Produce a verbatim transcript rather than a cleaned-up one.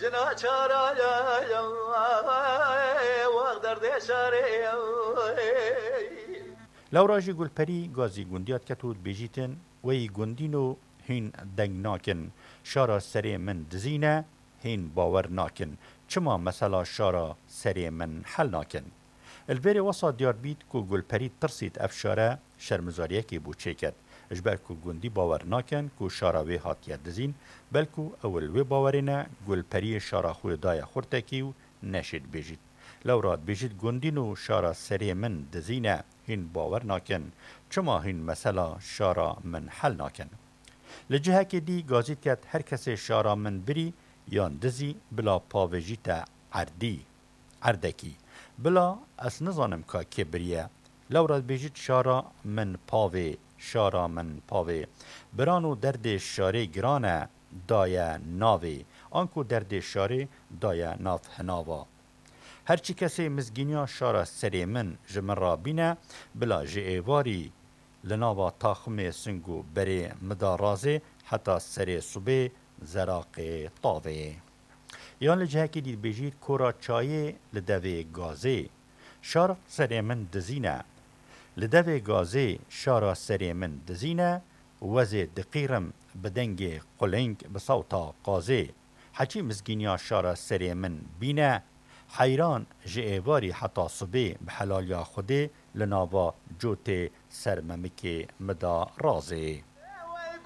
Jina çara ya, ya, wext derdê şarê ya. Lewra jî Gulperî gazî gundiya diket û dibêjîtin, weyî gundîn û hîn deng nakin. Şara serê min dizîne, hîn bawer nakin. Çima mesela şara serê min hel nakin? Li vêrê wesa diyar bît ku Gulperî tirsît ev şare şermizariyekê bû çêket. Ji ber ku gundî bawer nakin ku şara wê hatiye dizîn, belku ew li wê bawerê ne, Gulperiyê şara xwe daye xurtekî û neşê dibêjît. Lewra dibêjît gundîn û şara serê min dizîne, hîn bawer nakin. Çima hîn mesela şara min hel nakin? Li cihekê dî gazî diket her kesê şara min birî yan dizî bila pavê jî te erdî. Erdekî. Bila ez nizanim ka kê biriye. Lewra dibêjît şara min pavê, şara min pavê. Biran û derdê şarê giran e, daye navê. Anku derdê şarê daye nav hinava. Her çi kesê mizgîniya şara serê min ji min re bîne, bila ji êvarî li nava taximê sing û berê min da razê heta serê sibê zeraqê tavê. Yan li cihekî dî dibêjît kora çayê li devê gazê. Şara serê min dizîne. Li devê gazê şara serê min dizîne, wezê diqîrim bi dengê quling bi sewta qazê. Heçî mizgîniya şara serê min bîne, heyran ji êvarî heta sibê bi helaliya Xwedê li nava cotê ser memikê min da razê.